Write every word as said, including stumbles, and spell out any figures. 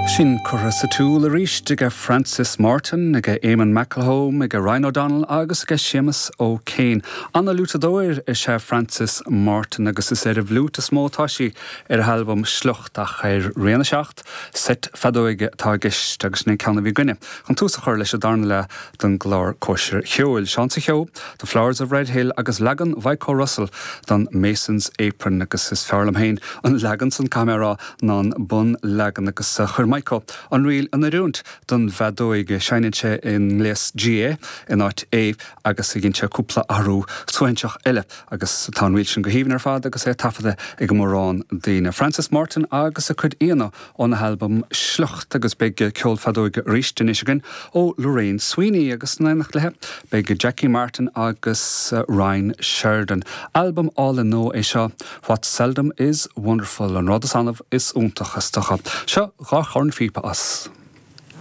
Sin curtha sa tsiúl arís ag Francis Martin, ag Eamon McElholm, ag Ryan O'Donnell agus ag Séamus O'Kane. An-fhliútadóir is ea Francis Martin agus is ar an bhfliút is mó atá sí ar an albam Sliocht ach ar Rian a seacht, seit feadóige atá i gceist agus sin ceann a bhí againne. Chun tús a chur leis an darna leath den gclár Cóisir Cheoil. Seán sa Cheo, The Flowers of Red Hill agus leagan Mhaidhc Russell den Mason's Apron agus is fearr liom féin an leagan san camerá ná an bunleagan agus chuir Maidhc an ríl in oiriúint don bhfeadóig seinneann sé i ngléas G in áit A agus a dhein sé cúpla athrú suaithinseach eile agus tá an ríl sin go haoibhinn ar fad agus é taifeadta ag mórán daoine. Francis Martin agus a cuid aíonna óna albam Sliocht agus beidh ceol feadóige arís anois againn ó Lorraine Sweeney agus in éineacht léi beidh Jackie Martin agus uh, Ryan Sheridan. Albam álainn nua é seo What Seldom is Wonderful an rud is annamh is iontach is dócha. Seo dhá chornphíopa as.